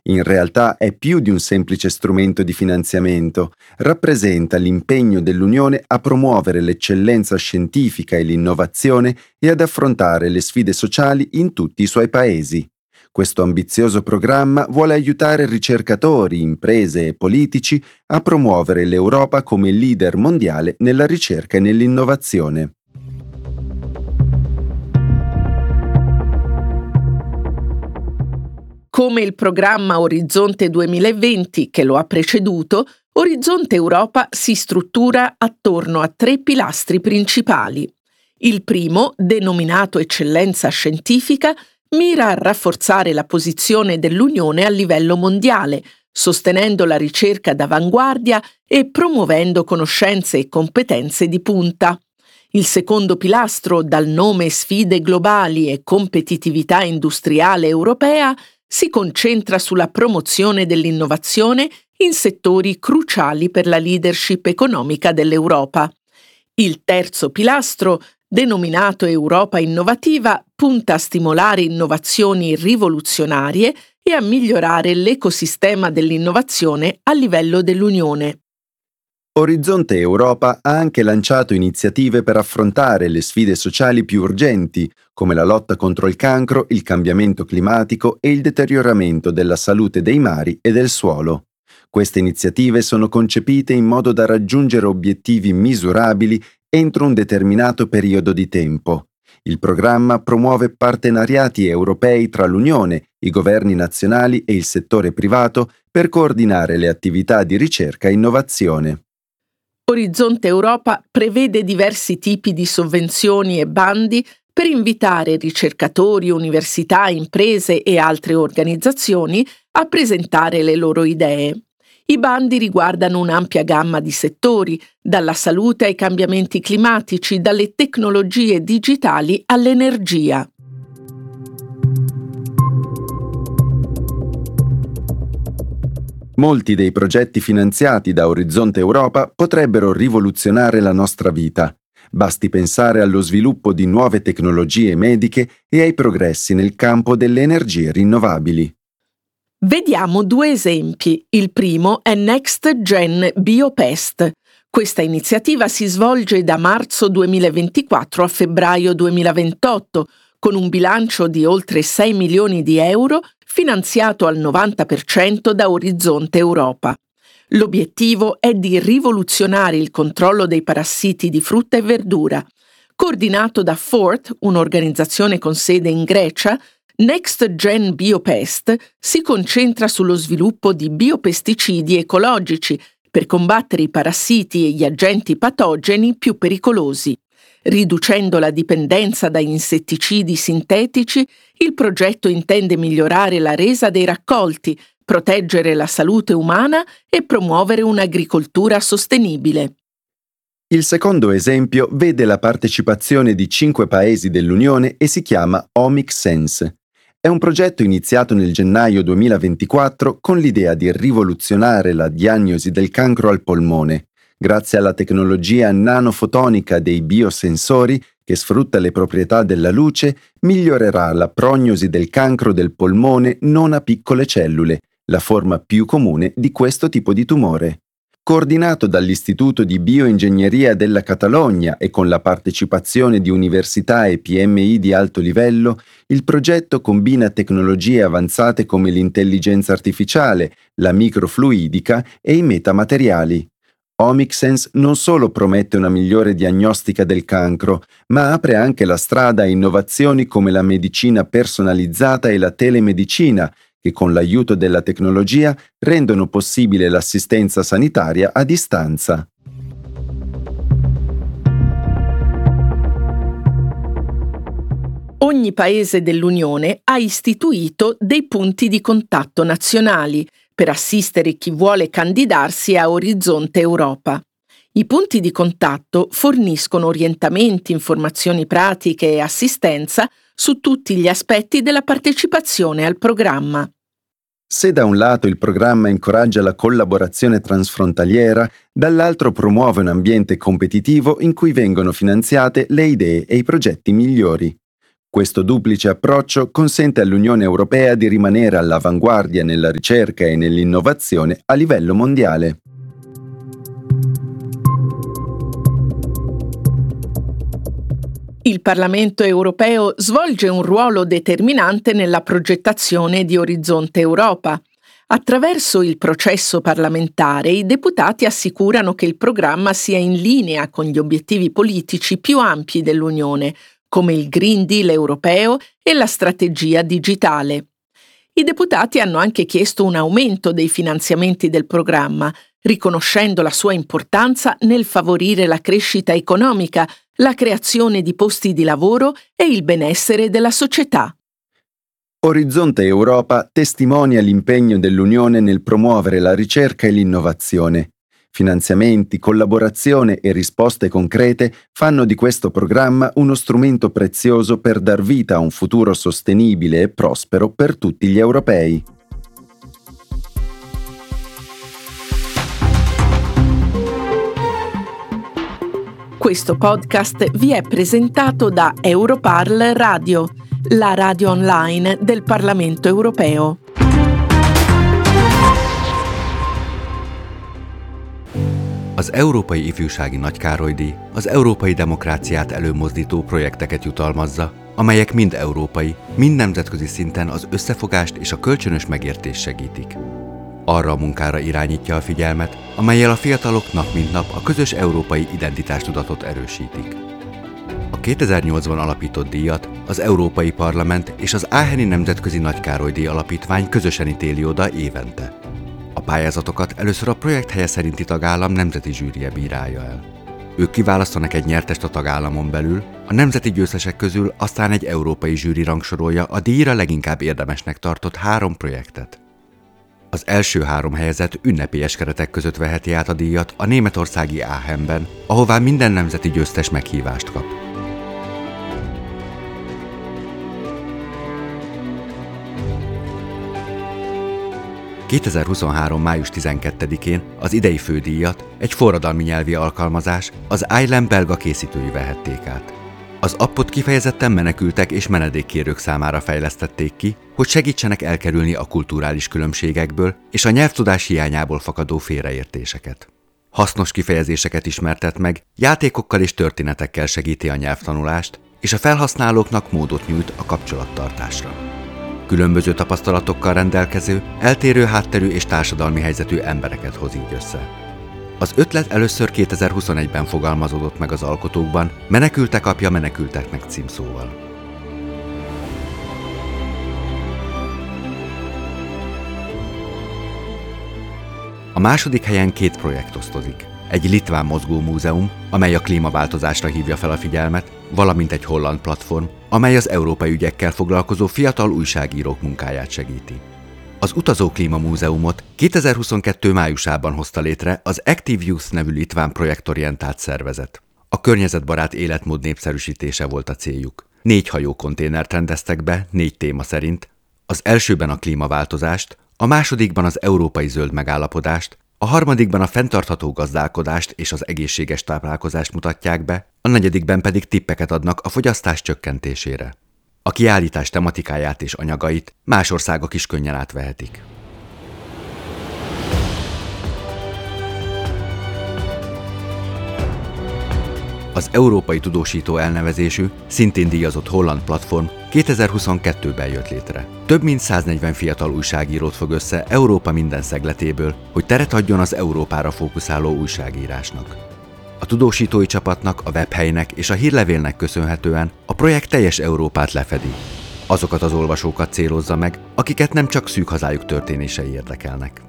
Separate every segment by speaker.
Speaker 1: In realtà è più di un semplice strumento di finanziamento, rappresenta l'impegno dell'Unione a promuovere l'eccellenza scientifica e l'innovazione e ad affrontare le sfide sociali in tutti i suoi paesi. Questo ambizioso programma vuole aiutare ricercatori, imprese e politici a promuovere l'Europa come leader mondiale nella ricerca e nell'innovazione.
Speaker 2: Come il programma Orizzonte 2020 che lo ha preceduto, Orizzonte Europa si struttura attorno a tre pilastri principali. Il primo, denominato Eccellenza Scientifica, mira a rafforzare la posizione dell'Unione a livello mondiale, sostenendo la ricerca d'avanguardia e promuovendo conoscenze e competenze di punta. Il secondo pilastro, dal nome Sfide globali e competitività industriale europea, si concentra sulla promozione dell'innovazione in settori cruciali per la leadership economica dell'Europa. Il terzo pilastro, denominato Europa Innovativa, punta a stimolare innovazioni rivoluzionarie e a migliorare l'ecosistema dell'innovazione a livello dell'Unione.
Speaker 1: Orizzonte Europa ha anche lanciato iniziative per affrontare le sfide sociali più urgenti, come la lotta contro il cancro, il cambiamento climatico e il deterioramento della salute dei mari e del suolo. Queste iniziative sono concepite in modo da raggiungere obiettivi misurabili entro un determinato periodo di tempo. Il programma promuove partenariati europei tra l'Unione, i governi nazionali e il settore privato per coordinare le attività di ricerca e innovazione.
Speaker 2: Orizzonte Europa prevede diversi tipi di sovvenzioni e bandi per invitare ricercatori, università, imprese e altre organizzazioni a presentare le loro idee. I bandi riguardano un'ampia gamma di settori, dalla salute ai cambiamenti climatici, dalle tecnologie digitali all'energia.
Speaker 1: Molti dei progetti finanziati da Orizzonte Europa potrebbero rivoluzionare la nostra vita. Basti pensare allo sviluppo di nuove tecnologie mediche e ai progressi nel campo delle energie rinnovabili.
Speaker 2: Vediamo due esempi. Il primo è Next Gen Biopest. Questa iniziativa si svolge da marzo 2024 a febbraio 2028, con un bilancio di oltre 6 milioni di euro finanziato al 90% da Orizzonte Europa. L'obiettivo è di rivoluzionare il controllo dei parassiti di frutta e verdura. Coordinato da Fort, un'organizzazione con sede in Grecia, Next Gen Biopest si concentra sullo sviluppo di biopesticidi ecologici per combattere i parassiti e gli agenti patogeni più pericolosi. Riducendo la dipendenza da insetticidi sintetici, il progetto intende migliorare la resa dei raccolti, proteggere la salute umana e promuovere un'agricoltura sostenibile.
Speaker 1: Il secondo esempio vede la partecipazione di 5 paesi dell'Unione e si chiama Omic Sense. È un progetto iniziato nel gennaio 2024 con l'idea di rivoluzionare la diagnosi del cancro al polmone. Grazie alla tecnologia nanofotonica dei biosensori, che sfrutta le proprietà della luce, migliorerà la prognosi del cancro del polmone non a piccole cellule, la forma più comune di questo tipo di tumore. Coordinato dall'Istituto di Bioingegneria della Catalogna e con la partecipazione di università e PMI di alto livello, il progetto combina tecnologie avanzate come l'intelligenza artificiale, la microfluidica e i metamateriali. Omicsense non solo promette una migliore diagnostica del cancro, ma apre anche la strada a innovazioni come la medicina personalizzata e la telemedicina, che con l'aiuto della tecnologia rendono possibile l'assistenza sanitaria a distanza.
Speaker 2: Ogni paese dell'Unione ha istituito dei punti di contatto nazionali per assistere chi vuole candidarsi a Orizzonte Europa. I punti di contatto forniscono orientamenti, informazioni pratiche e assistenza su tutti gli aspetti della partecipazione al programma.
Speaker 1: Se da un lato il programma incoraggia la collaborazione transfrontaliera, dall'altro promuove un ambiente competitivo in cui vengono finanziate le idee e i progetti migliori. Questo duplice approccio consente all'Unione Europea di rimanere all'avanguardia nella ricerca e nell'innovazione a livello mondiale.
Speaker 2: Il Parlamento europeo svolge un ruolo determinante nella progettazione di Orizzonte Europa. Attraverso il processo parlamentare i deputati assicurano che il programma sia in linea con gli obiettivi politici più ampi dell'Unione, come il Green Deal europeo e la strategia digitale. I deputati hanno anche chiesto un aumento dei finanziamenti del programma, riconoscendo la sua importanza nel favorire la crescita economica, la creazione di posti di lavoro e il benessere della società.
Speaker 1: Orizzonte Europa testimonia l'impegno dell'Unione nel promuovere la ricerca e l'innovazione. Finanziamenti, collaborazione e risposte concrete fanno di questo programma uno strumento prezioso per dar vita a un futuro sostenibile e prospero per tutti gli europei.
Speaker 2: Questo podcast vi è presentato da Europarl Radio, la radio online del Parlamento europeo.
Speaker 3: Az Európai Ifjúsági Nagykároly-díj az európai demokráciát előmozdító projekteket jutalmazza, amelyek mind európai, mind nemzetközi szinten az összefogást és a kölcsönös megértést segítik. Arra a munkára irányítja a figyelmet, amellyel a fiatalok nap mint nap a közös európai identitástudatot erősítik. A 2008-ban alapított díjat az Európai Parlament és az Aacheni Nemzetközi Nagykároly-díj Alapítvány közösen ítéli oda évente. A pályázatokat először a projekt helye szerinti tagállam nemzeti zsűrije bírálja el. Ők kiválasztanak egy nyertest a tagállamon belül, a nemzeti győztesek közül aztán egy európai zsűri rangsorolja a díjra leginkább érdemesnek tartott 3 projektet. Az első 3 helyezett ünnepélyes keretek között veheti át a díjat a németországi Aachenben, ahová minden nemzeti győztes meghívást kap. 2023. május 12-én az idei fődíjat egy forradalmi nyelvi alkalmazás, az iLem belga készítői vehették át. Az appot kifejezetten menekültek és menedékkérők számára fejlesztették ki, hogy segítsenek elkerülni a kulturális különbségekből és a nyelvtudás hiányából fakadó félreértéseket. Hasznos kifejezéseket ismertet meg, játékokkal és történetekkel segíti a nyelvtanulást, és a felhasználóknak módot nyújt a kapcsolattartásra. Különböző tapasztalatokkal rendelkező, eltérő hátterű és társadalmi helyzetű embereket hoz így össze. Az ötlet először 2021-ben fogalmazódott meg az alkotókban, Menekültek apja menekülteknek címszóval. A második helyen 2 projekt osztozik. Egy litván mozgómúzeum, amely a klímaváltozásra hívja fel a figyelmet, valamint egy holland platform, amely az európai ügyekkel foglalkozó fiatal újságírók munkáját segíti. Az Utazó Klímamúzeumot 2022 májusában hozta létre az Active Youth nevű litván projektorientált szervezet. A környezetbarát életmód népszerűsítése volt a céljuk. 4 hajókonténert rendeztek be, 4 téma szerint. Az elsőben a klímaváltozást, a másodikban az európai zöld megállapodást, a harmadikban a fenntartható gazdálkodást és az egészséges táplálkozást mutatják be, a negyedikben pedig tippeket adnak a fogyasztás csökkentésére. A kiállítás tematikáját és anyagait más országok is könnyen átvehetik. Az Európai Tudósító elnevezésű, szintén díjazott holland platform 2022-ben jött létre. Több mint 140 fiatal újságírót fog össze Európa minden szegletéből, hogy teret adjon az Európára fókuszáló újságírásnak. A tudósítói csapatnak, a webhelynek és a hírlevélnek köszönhetően a projekt teljes Európát lefedi. Azokat az olvasókat célozza meg, akiket nem csak szűk hazájuk történései érdekelnek.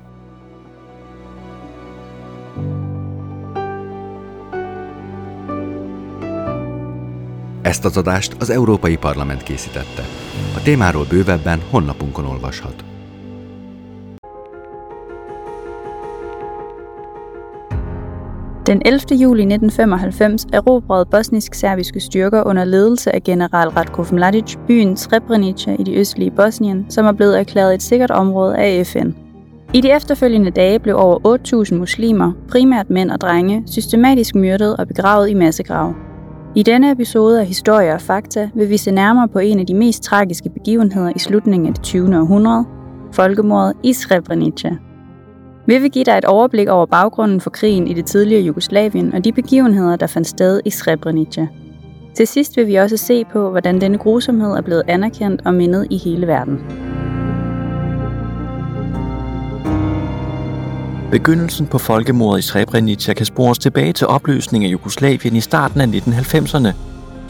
Speaker 3: Ezt az adást az Európai Parlament készítette. A témáról bővebben honlapunkon olvashat.
Speaker 4: Den 11. juli 1995 erobrede bosnisk-serbiske styrker under ledelse af general Ratko Mladic byen Srebrenica i det østlige Bosnien, som er blevet erklæret et sikkert område af FN. I de efterfølgende dage blev over 8.000 muslimer, primært mænd og drenge, systematisk myrdet og begravet i massegrave. I denne episode af Historie og Fakta vil vi se nærmere på en af de mest tragiske begivenheder i slutningen af det 20. århundrede, folkemordet i Srebrenica. Vi vil give dig et overblik over baggrunden for krigen i det tidligere Jugoslavien og de begivenheder, der fandt sted i Srebrenica. Til sidst vil vi også se på, hvordan denne grusomhed er blevet anerkendt og mindet i hele verden.
Speaker 5: Begyndelsen på folkemordet i Srebrenica kan spores tilbage til opløsningen af Jugoslavien i starten af 1990'erne.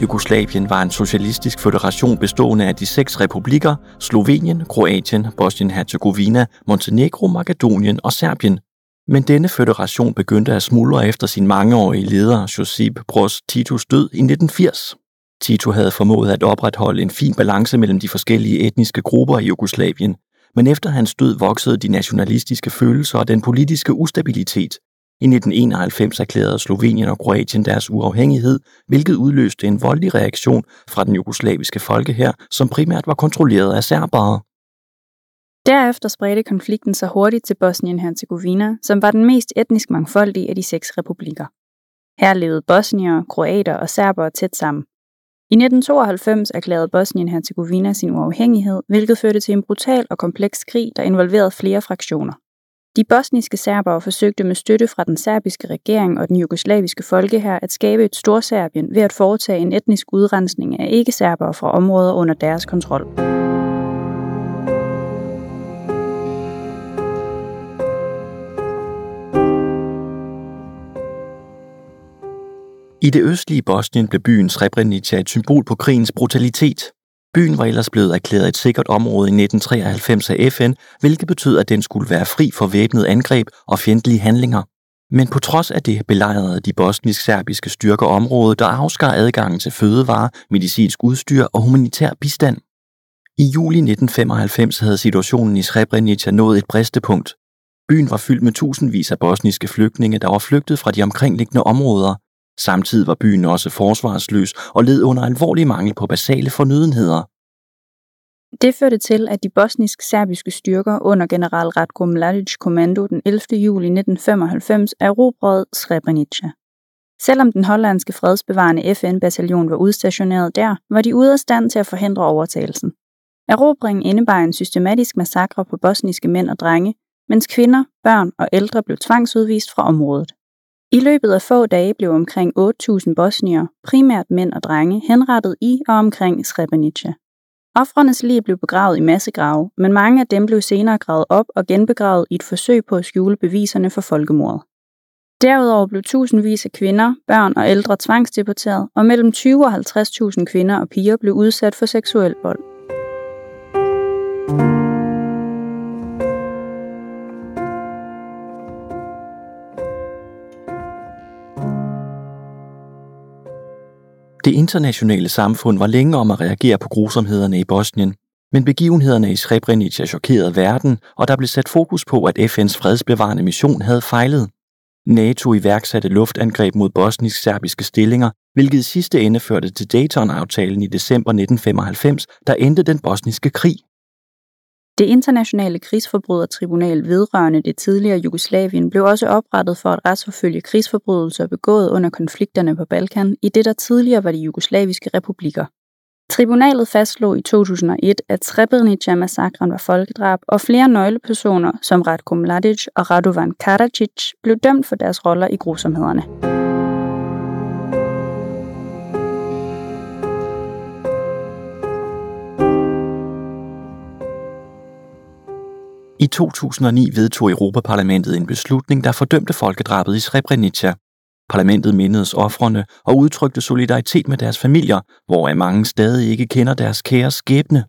Speaker 5: Jugoslavien var en socialistisk føderation bestående af de 6 republikker Slovenien, Kroatien, Bosnien-Herzegovina, Montenegro, Makedonien og Serbien. Men denne føderation begyndte at smuldre efter sin mangeårige leder Josip Broz Titos død i 1980. Tito havde formået at opretholde en fin balance mellem de forskellige etniske grupper i Jugoslavien, men efter hans død voksede de nationalistiske følelser og den politiske ustabilitet. I 1991 erklærede Slovenien og Kroatien deres uafhængighed, hvilket udløste en voldelig reaktion fra den jugoslaviske folkehær, som primært var kontrolleret af serbere.
Speaker 4: Derefter spredte konflikten sig hurtigt til Bosnien-Herzegovina, som var den mest etnisk mangfoldige af de 6 republikker. Her levede bosniere, kroater og serbere tæt sammen. I 1992 erklærede Bosnien-Herzegovina sin uafhængighed, hvilket førte til en brutal og kompleks krig, der involverede flere fraktioner. De bosniske serbere forsøgte med støtte fra den serbiske regering og den jugoslaviske folkehær at skabe et Storserbien ved at foretage en etnisk udrensning af ikke-serbere fra områder under deres kontrol.
Speaker 5: I det østlige Bosnien blev byen Srebrenica et symbol på krigens brutalitet. Byen var ellers blevet erklæret et sikkert område i 1993 af FN, hvilket betød, at den skulle være fri for væbnet angreb og fjendtlige handlinger. Men på trods af det belejrede de bosnisk-serbiske styrker området, der afskar adgangen til fødevarer, medicinsk udstyr og humanitær bistand. I juli 1995 havde situationen i Srebrenica nået et bristepunkt. Byen var fyldt med tusindvis af bosniske flygtninge, der var flygtet fra de omkringliggende områder. Samtidig var byen også forsvarsløs og led under alvorlig mangel på basale fornødenheder.
Speaker 4: Det førte til, at de bosnisk-serbiske styrker under general Ratko Mladic kommando den 11. juli 1995 erobrede Srebrenica. Selvom den hollandske fredsbevarende FN-bataljon var udstationeret der, var de ude af stand til at forhindre overtagelsen. Erobringen indebar en systematisk massakre på bosniske mænd og drenge, mens kvinder, børn og ældre blev tvangsudvist fra området. I løbet af få dage blev omkring 8.000 bosniere, primært mænd og drenge, henrettet i og omkring Srebrenica. Ofrenes lig blev begravet i massegrave, men mange af dem blev senere gravet op og genbegravet i et forsøg på at skjule beviserne for folkemordet. Derudover blev tusindvis af kvinder, børn og ældre tvangsdeporteret, og mellem 20 og 50.000 kvinder og piger blev udsat for seksuel vold.
Speaker 5: Det internationale samfund var længe om at reagere på grusomhederne i Bosnien, men begivenhederne i Srebrenica chokerede verden, og der blev sat fokus på, at FN's fredsbevarende mission havde fejlet. NATO iværksatte luftangreb mod bosnisk-serbiske stillinger, hvilket i sidste ende førte til Dayton-aftalen i december 1995, der endte den bosniske krig.
Speaker 4: Det internationale krigsforbrydertribunal vedrørende det tidligere Jugoslavien blev også oprettet for at retsforfølge krigsforbrydelser begået under konflikterne på Balkan i det, der tidligere var de jugoslaviske republikker. Tribunalet fastslog i 2001, at Srebrenica-massakren var folkedrab, og flere nøglepersoner som Ratko Mladic og Radovan Karadzic blev dømt for deres roller i grusomhederne.
Speaker 5: I 2009 vedtog Europaparlamentet en beslutning, der fordømte folkedrabet i Srebrenica. Parlamentet mindedes ofrene og udtrykte solidaritet med deres familier, hvoraf mange stadig ikke kender deres kære skæbne.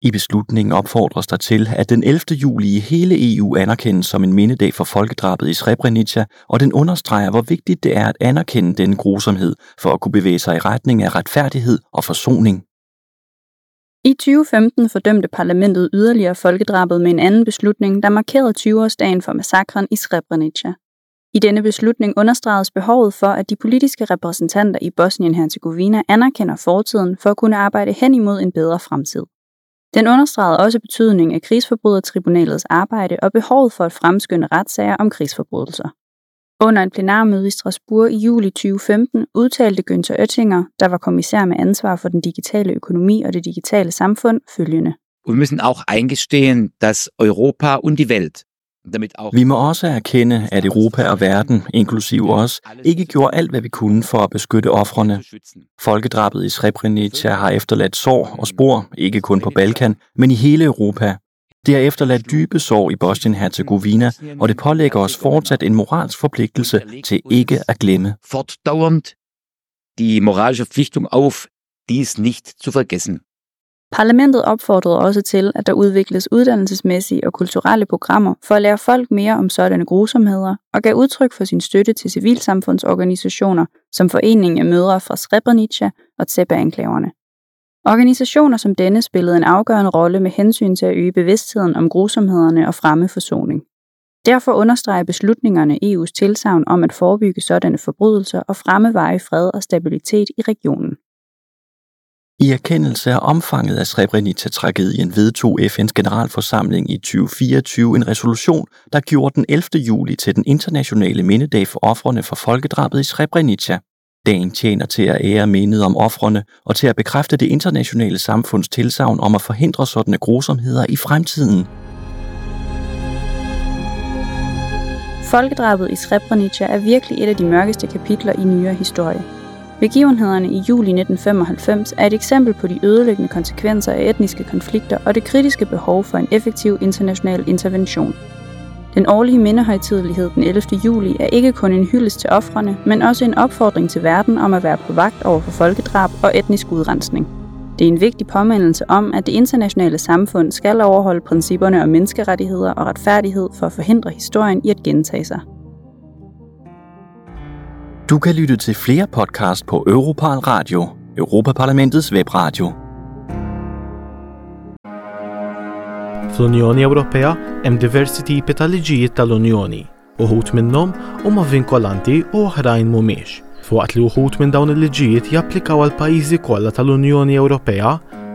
Speaker 5: I beslutningen opfordres der til, at den 11. juli i hele EU anerkendes som en mindedag for folkedrabet i Srebrenica, og den understreger, hvor vigtigt det er at anerkende denne grusomhed for at kunne bevæge sig i retning af retfærdighed og forsoning.
Speaker 4: I 2015 fordømte parlamentet yderligere folkedrabet med en anden beslutning, der markerede 20-årsdagen for massakren i Srebrenica. I denne beslutning understregedes behovet for, at de politiske repræsentanter i Bosnien-Herzegovina anerkender fortiden for at kunne arbejde hen imod en bedre fremtid. Den understregede også betydningen af krigsforbrydertribunalets arbejde og behovet for at fremskynde retssager om krigsforbrydelser. Under et plenarmøde i Strasbourg i juli 2015 udtalte Günther Oettinger, der var kommissær med ansvar for den digitale økonomi og det digitale samfund, følgende.
Speaker 6: Und wir müssen auch eingestehen, dass Europa und die Welt
Speaker 5: Vi må også erkende, at Europa og verden, inklusive os, ikke gjorde alt, hvad vi kunne for at beskytte ofrene. Folkedrabet i Srebrenica har efterladt sår og spor, ikke kun på Balkan, men i hele Europa. Det har efterladt dybe sår i Bosnien-Herzegovina, og det pålægger os fortsat en moralsk forpligtelse til ikke at glemme.
Speaker 6: Fortdauernd die moralische Verpflichtung auf, dies nicht zu vergessen.
Speaker 4: Parlamentet opfordrede også til, at der udvikles uddannelsesmæssige og kulturelle programmer for at lære folk mere om sådanne grusomheder, og gav udtryk for sin støtte til civilsamfundsorganisationer som Foreningen af Mødre fra Srebrenica og Tsepa-enklaverne. Organisationer som denne spillede en afgørende rolle med hensyn til at øge bevidstheden om grusomhederne og fremme forsoning. Derfor understreger beslutningerne EU's tilsagn om at forebygge sådanne forbrydelser og fremme varig fred og stabilitet i regionen.
Speaker 5: I erkendelse af omfanget af Srebrenica-tragedien vedtog FN's generalforsamling i 2024 en resolution, der gjorde den 11. juli til den internationale mindedag for ofrene for folkedrabet i Srebrenica. Dagen tjener til at ære mindet om ofrene og til at bekræfte det internationale samfunds tilsagn om at forhindre sådanne grusomheder i fremtiden.
Speaker 4: Folkedrabet i Srebrenica er virkelig et af de mørkeste kapitler i nyere historie. Begivenhederne i juli 1995 er et eksempel på de ødelæggende konsekvenser af etniske konflikter og det kritiske behov for en effektiv international intervention. Den årlige mindehøjtidelighed den 11. juli er ikke kun en hyldest til ofrene, men også en opfordring til verden om at være på vagt over for folkedrab og etnisk udrensning. Det er en vigtig påmindelse om, at det internationale samfund skal overholde principperne om menneskerettigheder og retfærdighed for at forhindre historien i at gentage sig.
Speaker 5: Du kan lytte til flere podcast på Europarl Radio, Europaparlamentets webradio.
Speaker 7: Fl-Unjoni Ewropea hemm diversi tipi ta' liġijiet tal-Unjoni. Uħud minnhom huma vinkolanti u oħrajn mhumiex. F'waqt li uħud minn dawn il-liġijiet japplikaw għal pajjiżi kollha tal-Unjoni Ewropea,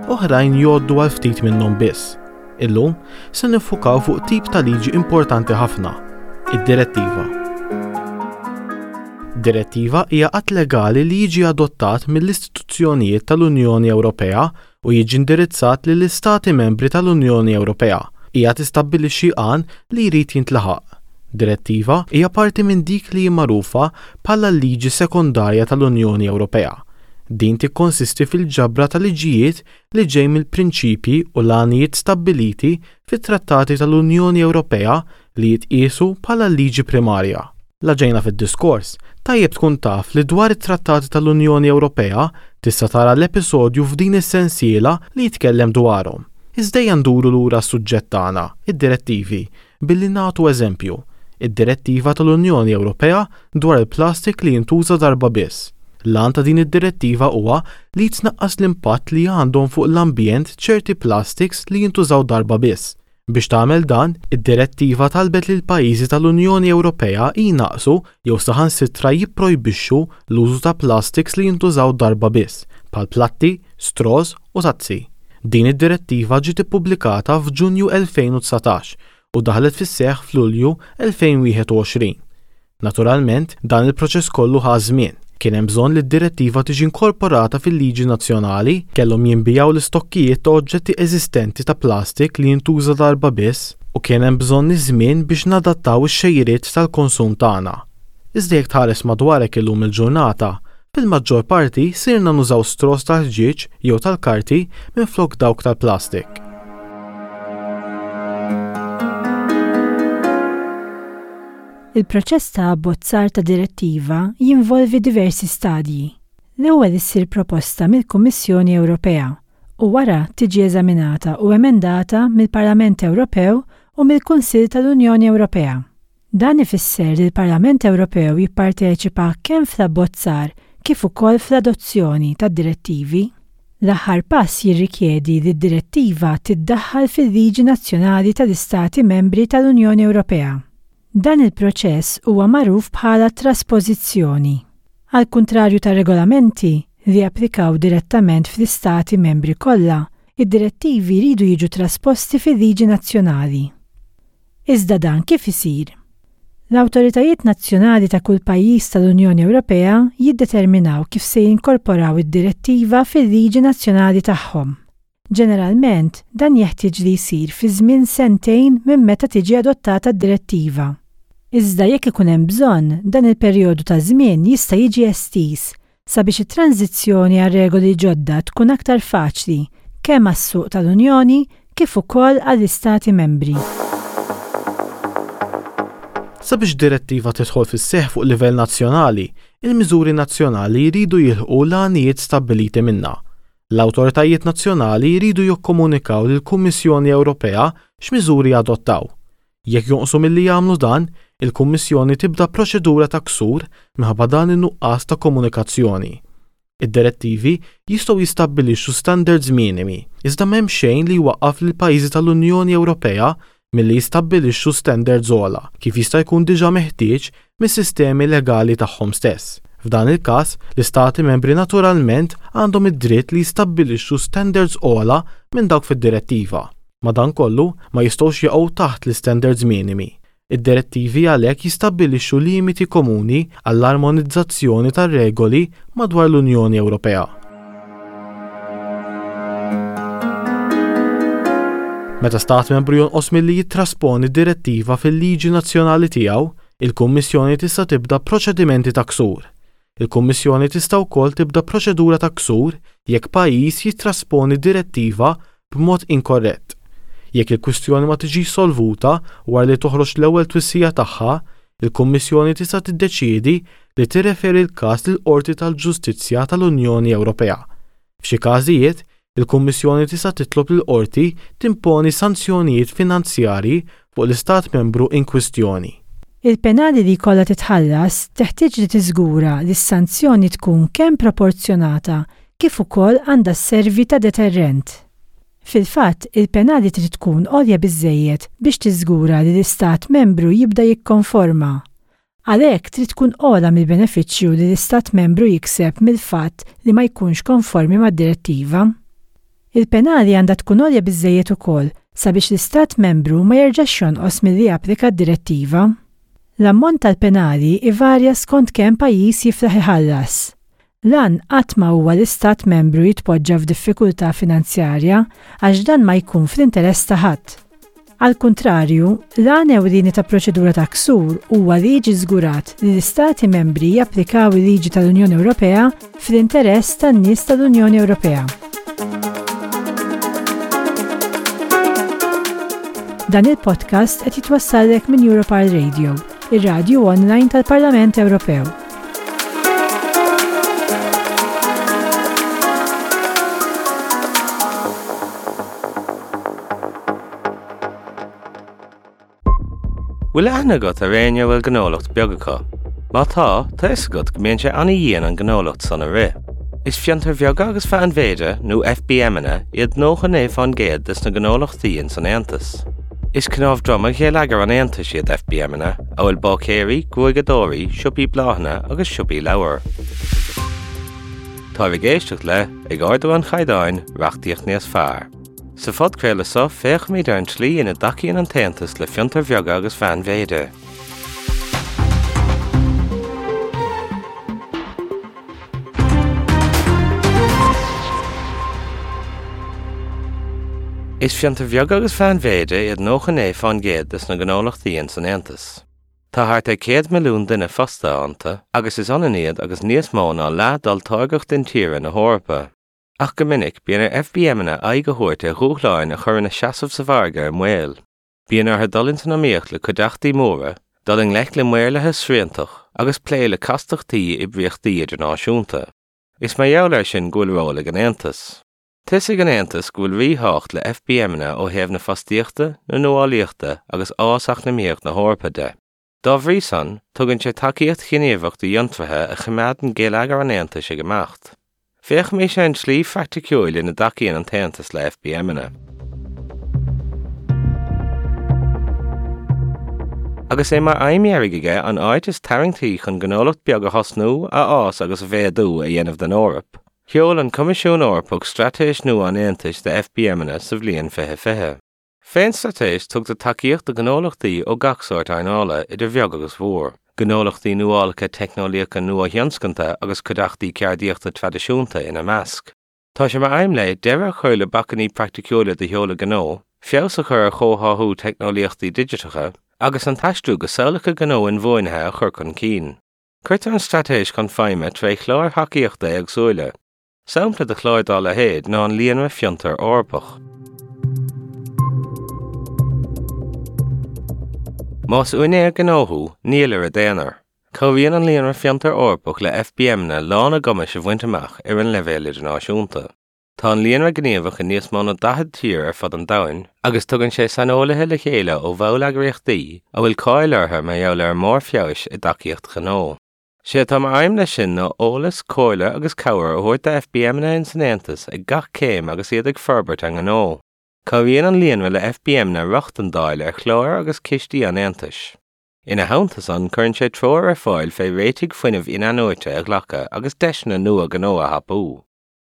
Speaker 7: oħrajn jgħoddu għal ftit minnhom biss. Illum se niffukaw fuq tip ta' liġi importanti ħafna, id-direttiva. Direttiva hija att legali li jiġi adottat mill-istituzzjonijiet tal-Unjoni Ewropea u jiġi indirizzat lill-Istati Membri tal-Unjoni Ewropea. Hija tistabbilixxi għan li jrid jintlaħaq. Direttiva hija parti minn dik li hi magħrufa bħala l-liġi sekondarja tal-Unjoni Ewropea. Din tikkonsisti fil-ġabra ta' liġijiet li ġej mill-prinċipji u l-għanijiet stabbiliti fit-Trattati tal-Unjoni Ewropea li jitqiesu bħala l-liġi primarja. La ġejna fid-diskors, tajjeb tkun taf li dwar it-Trattati tal-Unjoni Ewropea tista' tara l-episodju f'din is-sensiela li jitkellem dwarhom. Iżda ejja nduru lura għas-suġġett tagħna, id-direttivi, billi nagħtu eżempju, id-Direttiva tal-Unjoni Ewropea dwar il-plastik li jintuża darba biss. L-għan ta' din id-direttiva huwa li jitnaqqas l-impatt li għandhom fuq l-ambjent ċerti plastiks li jintużaw darba biss. Biex tagħmel dan, id-direttiva talbet lill-pajjiżi tal-Unjoni Ewropea jnaqqsu jew saħansitra jipprojbixxu l-użu ta' plastiks li jintużaw darba biss, bħal platti, straws u tazzi. Din id-direttiva ġiet ippubblikata f'Ġunju 2019 u daħlet fis-seħħ f'Lulju 2021. Naturalment, dan il-proċess kollu ħa ż-żmien. Kien hemm bżonn li d-direttiva tiġi inkorporata fil-liġi nazzjonali, kellhom jinbiegħu l-istokkijiet ta' oġġetti eżistenti ta' plastik li jintuża darba biss, u kien hemm bżonn iż-żmien biex nadattaw ix-xejriet tal-konsum tagħna. Iżda jekk tħares madwarek illum il-ġurnata, fil-maġġor parti sirna nużaw straws tal-ħġieġ jew tal-karti minflok dawk tal-plastik.
Speaker 8: Il-proċess ta' abbozzar ta' direttiva jinvolvi diversi stadji. L-ewwel issir proposta mill-Kummissjoni Ewropea u wara tiġi eżaminata u emendata mill-Parlament Ewropew u mill-Kunsill tal-Unjoni Ewropea. Dan ifisser li l-Parlament Ewropew jipparteċipa kemm fl-abbozzar kif ukoll fl-adozzjoni tad-direttivi. L-aħħar pass jirrikjedi li d-direttiva tiddaħħal fil-liġi nazzjonali tal-Istati Membri tal-Unjoni Ewropea. Dan il-proċess huwa magħruf bħala traspożizzjoni. Għall-kuntrarju tar-regolamenti, li japplikaw direttament fl-Istati Membri kollha, id-direttivi jridu jiġu trasposti fil-liġi nazzjonali. Iżda dan kif isir? L-awtoritajiet nazzjonali ta' kull pajjiż tal-Unjoni Ewropea jiddeterminaw kif se jinkorporaw id-direttiva fil-liġi nazzjonali tagħhom. Ġeneralment, dan jeħtieġ li jsir fi żmien sentejn minn meta tiġi adottata d-direttiva. Iżda jekk ikun hemm bżonn, dan il-perjodu ta' żmien jista' jiġi estiż sabiex it-tranżizzjoni għal regoli ġodda tkun aktar faċli kemm għas-suq tal-Unjoni kif ukoll għall-Istati Membri.
Speaker 7: Sabiex direttiva tidħol fis-seħħ fuq livell nazzjonali, il-miżuri nazzjonali jridu jilħqu l-għanijiet stabbiliti minnha. L-awtoritajiet nazzjonali jridu jikkomunikaw lill-Kummissjoni Ewropea x'miżuri adottaw. Jekk jonqsu milli jagħmlu dan, il-Kummissjoni tibda proċedura ta' ksur minħabba dan in-nuqqas ta' komunikazzjoni. Id-direttivi jistgħu jistabbilixxu standards minimi, iżda m'hemm xejn li jwaqqaf lill-pajjiżi tal-Unjoni Ewropea milli jistabbilixxu standards ogħla, kif jista' jkun diġà meħtieġ mis-sistemi legali tagħhom stess. F'dan il-każ, l-Istati Membri naturalment għandhom id-dritt li jistabbilixxu standards ogħla minn dawk fid-Direttiva. Madankollu, ma jistgħux jaqgħu taħt l-istandards minimi. Id-Direttivi għalhekk jistabbilixxu limiti komuni għall-armonizzazzjoni tar-regoli madwar l-Unjoni Ewropea. Meta Stat Membru jonqos milli jittrasponi direttiva fil-liġi nazzjonali tiegħu, il-Kummissjoni tista' tibda proċedimenti ta' ksur. Il-Kummissjoni tista' wkoll tibda proċedura ta' ksur jekk pajjiż jittrasponi direttiva b'mod inkorrett. Jekk il-kwistjoni ma tiġix solvuta wara li toħroġ l-ewwel twissija tagħha, il-Kummissjoni tista' tiddeċiedi li tirreferi l-każ lill-Qorti tal-Ġustizzja tal-Unjoni Ewropea. F'xi każijiet, il-Kummissjoni tista' titlob lill-Qorti timponi sanzjonijiet finanzjarji fuq l-Istat Membru inkwistjoni.
Speaker 8: Il-penali li jkollha titħallas teħtieġ li tiżgura li s-sanzjoni tkun kemm proporzjonata kif ukoll għandha sservi ta' deterrent. Fil-fatt, il-penali trid tkun għolja biżżejjed biex tiżgura li l-Istat Membru jibda jikkonforma. Għalhekk trid tkun ogħla mill-benefiċċju li l-Istat Membru jikseb mill-fatt li ma jkunx konformi mad-Direttiva. Il-penali għandha tkun għolja biżżejjed ukoll sabiex l-Istat Membru ma jerġax jonqos milli japplika d-Direttiva. L-ammont tal-penali ivarja skont kemm pajjiż jiflaħ iħallas. L-għan qatt ma huwa li Stat Membru jitpoġġa f'diffikultà finanzjarja għax dan ma jkun fl-interess ta' ħadd. Għall-kuntrarju, l-għan ewlieni ta' proċedura ta' ksur huwa li jiġi żgurat li l-Istati Membri japplikaw il-liġi tal-Unjoni Ewropea fl-interess tan-nies tal-Unjoni Ewropea. Dan il-podcast qed jitwassallek minn Europarl Radio, ir-radju online tal-Parlament Ewropew.
Speaker 9: Bhfuil aithne agat ar éinne a bhfuil gnólacht beag acu? Má tá, tá fhios agat go mbíonn sé an-dhian an gnólacht san a rith. Is fiontair bheaga agus mheánmhéide, nó FBManna, iad 99% des na gnólachtaí ins an Aontas. Is cnámh droma gheilleagar an Aontais iad FBManna, amhail báicéirí, gruaigeadóirí, siopaí bláthanna agus siopaí leabhar. Táibh ag éisteacht le, Ag Ardú an Chaighdeáin, Reachtaíocht Níos Fearr. Sa phodchraoladh seo féachfaimid ar an tslí ina dtacaíonn an tAontas le fiontair bheaga agus mheánmhéide. Is fiontair bheaga agus mheánmhéide iad 99% des na gnólachtaí ins an Aontas. Tá thart ar 100 milliún duine fostaithe iontu agus is ionann iad agus níos mó ná leath d'olltáirgeacht intíre na hEorpa. Ach go minic, bíonn ar FBManna aghaidh a thabhairt ar dhúshláin a chuireann a seasamh sa mhargadh i mbaol. Bíonn orthu dul ins an iomaíocht le cuideachtaí móra, dul i ngleic le maorlathas sriantach agus plé le castachtaí oibríochtaí idirnáisiúnta. Is mar gheall air sin go bhfuil ról ag an Aontas. Tuigfidh an Aontas go bhfuil ríthábhacht le FBManna ó thaobh na fostaíochta, na nuálaíochta agus fhás eacnamaíoch na hEorpa de. Dá bhrí san, tugann sé tacaíocht ghníomhach do fhiontraithe a choimeádann geilleagar an Aontais ag imeacht. Féachaimis ar an tslí phraiticiúil ina dtacaíonn an tAontas le FBManna. Agus é mar aidhm dheiridh aige an áit is tarraingtí chun gnólacht beag a thosnú, a fhás agus a mhéadú a dhéanamh den Eoraip, sheol an Coimisiún Eorpach Straitéis nua an Aontais do FBManna sa bhliain 2020. Fén straitéis tugtar tacaíocht do ghnólachtaí ó gach sórt earnála, idir bheag agus mhór, gnólachtaí nuálacha teicneolaíocha nuathionscanta agus cuideachtaí ceardaíochta traidisiúnta ina measc. Tá sé mar aidhm léi deireadh a chur le bacainní praiticiúla do sheoladh gnó, feabhas a chur ar chomhtháthú teicneolaíochtaí digiteacha, agus an t-aistriú go samhlacha gnó inbhuanaithe a chur chun cinn. Cuirtear an straitéis chun feidhme tré chláir thacaíochta éagsúla. Sampla de chlár dá leithéid ná an Líonra Fiontar Eorpach. Más úinéir gnó thú, níl ar i d'aonar. Cabhraíonn an Líonra Fiontar Eorpach le FBManna lán a gcumais a bhaint amach ar an leibhéal idirnáisiúnta. Tá an líonra gníomhach i níos mó ná 40 tír ar fud an domhain agus tugann sé saineolaithe le chéile ó bhalleagraíochtaí a bhfuil cáil orthu mar gheall ar a mbarr feabhais i dtacaíocht ghnó. Sé atá mar aidhm leis sin ná eolas, comhairle agus cabhair a thabhairt do FBManna ins an Aontas ag gach céim agus iad ag forbairt a ngnó. Cabhraíonn an líonra le FBManna rochtain d'fháil ar chláir agus cistí an Aontais. Ina theannta san, cuireann sé treoir ar fáil fé réitigh fuinnimh in-athnuaite a ghlacadh agus deiseanna nua gnó a thapú.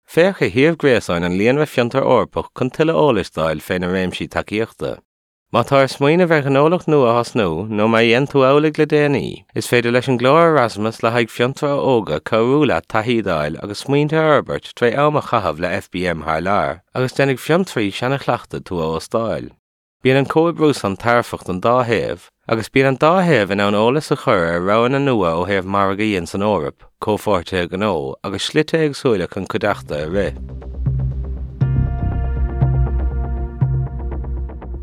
Speaker 9: Féach ar shuíomh gréasáin an Líonra Fiontar Eorpach chun tuilleadh eolais d'fháil fé na réimsí tacaíochta. Má tá ar smaoineamh ar ghnólacht nua a thosnú, nó má dhein tú amhlaidh le déanaí, is féidir leis an gclár Erasmus le haghaidh fiontraithe óga cabhrú leat taithí d'fháil agus smaointe a fhorbairt tré am a chaitheamh le FBM thar lear, agus déanfaidh fiontraí seana-chleachta tú a óstáil. Bíonn an comhoibriú san tairfeach don dá thaobh, agus bíonn an dá thaobh in ann eolas a chur ar roghanna nua ó thaobh margaí ins an Eoraip, comhpháirtithe gnó agus slite éagsúla chun cuideachta a rith.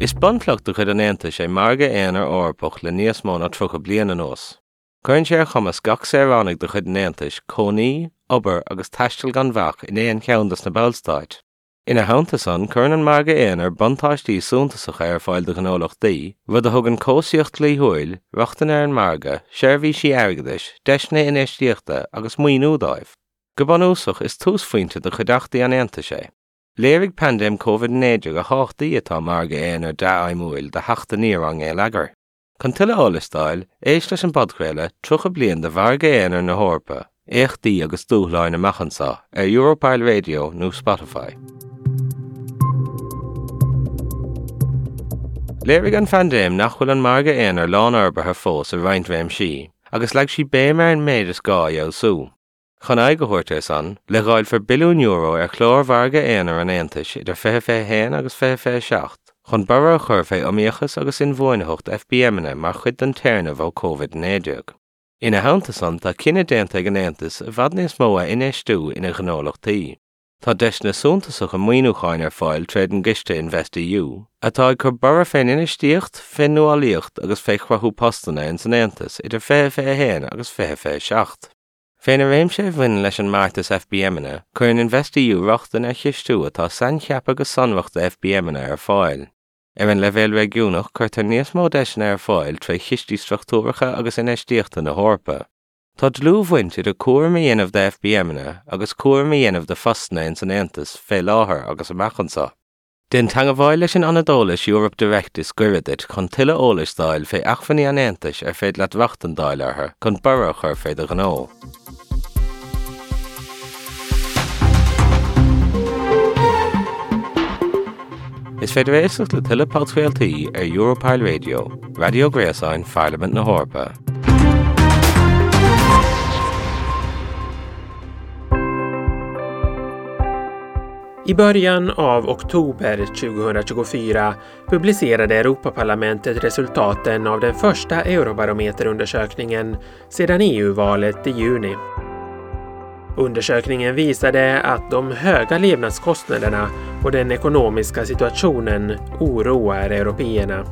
Speaker 9: Is bunchloch de chuid an Aontais é Margadh Aonair Eorpach le níos mó ná 30 bliain anuas. Cuireann sé ar chumas gach saoránaigh de chuid an Aontais cónaí, obair agus taisteal gan bhac in aon cheann de na Ballstáit. Ina theannta san, cuireann an Margadh Aonair buntáistí suntasacha ar fáil do ghnólachtaí, rud a thugann cobhsaíocht dhlíthiúil, rochtain ar an margadh, seirbhísí airgeadais, deiseanna infheistíochta agus maoiniú dóibh. Go bunúsach, is túsphointe do chuideachtaí an Aontais é. Léirigh paindéim Covid-19 a thábhachtaí atá margadh aonair dea-fheidhmiúil do theacht aniar ár ngeilleagair. Chun tuilleadh eolais d'fháil, éist leis an bpodchraoladh 30 bliain de Mhargadh Aonair na hEorpa, Éachtaí agus Dúshláin Amach Anseo ar Europarl Radio nó Spotify. Léirigh an phaindéim nach bhfuil an Margadh Aonair lánfhorbartha fós i roinnt réimsí, agus leag sí béim ar an méid is gá a fheabhsú. Chun aghaidh a thabhairt air san, leithdháilfear billiún euro ar chlár Mhargadh Aonair an Aontais idir 2021 agus 2027 chun borradh a chur fé iomaíochas agus inbhuanaitheacht FBManna mar chuid den téarnamh ó Covid-19. Ina theannta san, tá cinneadh déanta ag an Aontas i bhfad níos mó a infheistiú ina ghnólachtaí. Tá deiseanna suntasacha maoiniúcháin ar fáil tréd an gciste InvestEU, atá ag cur borradh fén infheistíocht, fén nuálaíocht agus fé chruthú postanna ins an Aontas idir 2021 agus 2027. Fé na réimse a bhaineann leis an mbeartas FBManna, cuireann InvestEU rochtain ar chistiú atá saincheaptha go sonrach do FBManna ar fáil. Ar an leibhéal réigiúnach, cuirtear níos mó deiseanna ar fáil tré chistí struchtúracha agus infheistíochta na hEorpa. Tá dlúthbhaint idir cúram a dhéanamh do FBManna agus cúram a dhéanamh do phostanna ins an Aontas fé láthair agus amach anseo. Déan teagmháil leis an Ionad Eolais Europe Direct is gaire duit chun tuilleadh eolais d'fháil fé acmhainní an Aontais ar féidir leat rochtain d'fháil orthu chun borradh a chur fé do ghnó. Is féidir éisteacht le tuilleadh podchraoltaí ar Europarl Radio, raidió gréasáin Pharlaimint na hEorpa.
Speaker 10: I början av oktober 2024 publicerade Europaparlamentet resultaten av den första Eurobarometerundersökningen sedan EU-valet i juni. Undersökningen visade att de höga levnadskostnaderna och den ekonomiska situationen oroar européerna.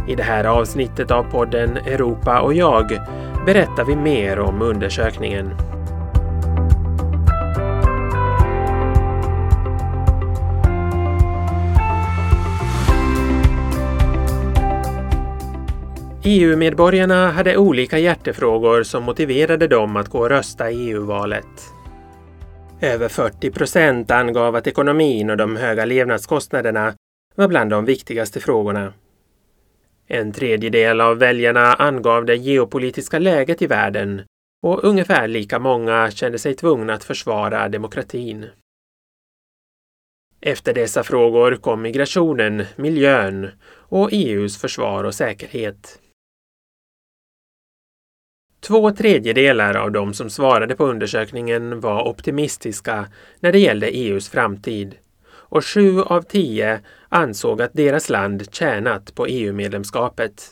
Speaker 10: I det här avsnittet av podden Europa och jag berättar vi mer om undersökningen. EU-medborgarna hade olika hjärtefrågor som motiverade dem att gå och rösta i EU-valet. Över 40 procent angav att ekonomin och de höga levnadskostnaderna var bland de viktigaste frågorna. En tredjedel av väljarna angav det geopolitiska läget i världen och ungefär lika många kände sig tvungna att försvara demokratin. Efter dessa frågor kom migrationen, miljön och EUs försvar och säkerhet. Två tredjedelar av de som svarade på undersökningen var optimistiska när det gällde EUs framtid och sju av tio ansåg att deras land tjänat på EU-medlemskapet.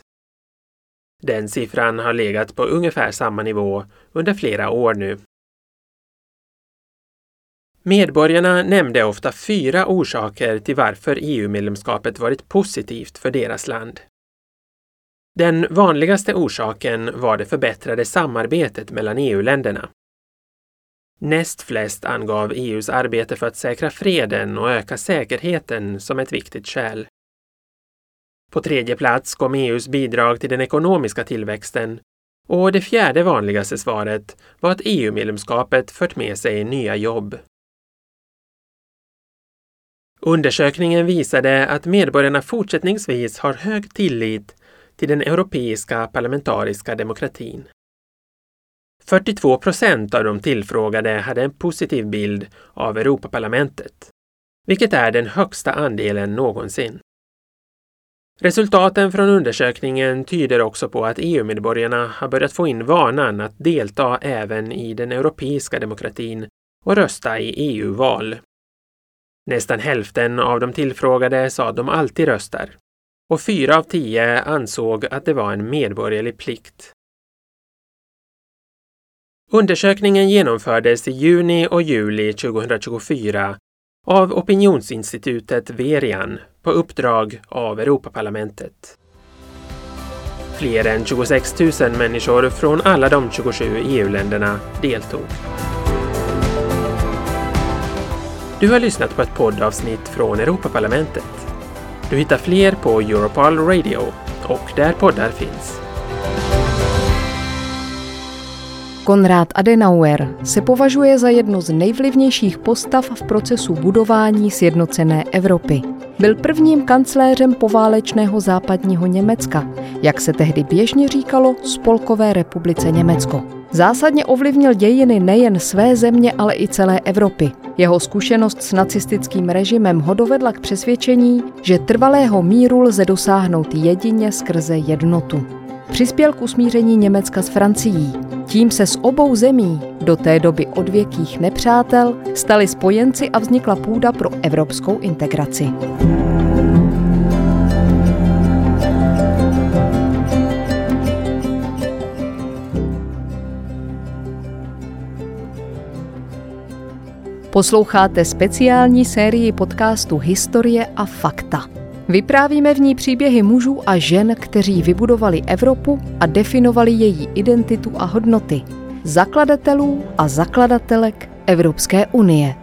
Speaker 10: Den siffran har legat på ungefär samma nivå under flera år nu. Medborgarna nämnde ofta fyra orsaker till varför EU-medlemskapet varit positivt för deras land. Den vanligaste orsaken var det förbättrade samarbetet mellan EU-länderna. Näst flest angav EUs arbete för att säkra freden och öka säkerheten som ett viktigt skäl. På tredje plats kom EUs bidrag till den ekonomiska tillväxten och det fjärde vanligaste svaret var att EU-medlemskapet fört med sig nya jobb. Undersökningen visade att medborgarna fortsättningsvis har hög tillit till den europeiska parlamentariska demokratin. 42 procent av de tillfrågade hade en positiv bild av Europaparlamentet, vilket är den högsta andelen någonsin. Resultaten från undersökningen tyder också på att EU-medborgarna har börjat få in vanan att delta även i den europeiska demokratin och rösta i EU-val. Nästan hälften av de tillfrågade sa att de alltid röstar och fyra av tio ansåg att det var en medborgerlig plikt. Undersökningen genomfördes i juni och juli 2024 av opinionsinstitutet Verian på uppdrag av Europaparlamentet. Fler än 26 000 människor från alla de 27 EU-länderna deltog. Du har lyssnat på ett poddavsnitt från Europaparlamentet. Du hittar fler på Europol Radio och där poddar finns.
Speaker 11: Konrad Adenauer se považuje za jednu z nejvlivnějších postav v procesu budování sjednocené Evropy. Byl prvním kancléřem poválečného západního Německa, jak se tehdy běžně říkalo Spolkové republice Německo. Zásadně ovlivnil dějiny nejen své země, ale i celé Evropy. Jeho zkušenost s nacistickým režimem ho dovedla k přesvědčení, že trvalého míru lze dosáhnout jedině skrze jednotu. Přispěl k usmíření Německa s Francií. Tím se z obou zemí, do té doby odvěkých nepřátel, stali spojenci a vznikla půda pro evropskou integraci. Posloucháte speciální sérii podcastu Historie a fakta. Vyprávíme v ní příběhy mužů a žen, kteří vybudovali Evropu a definovali její identitu a hodnoty. Zakladatelů a zakladatelek Evropské unie.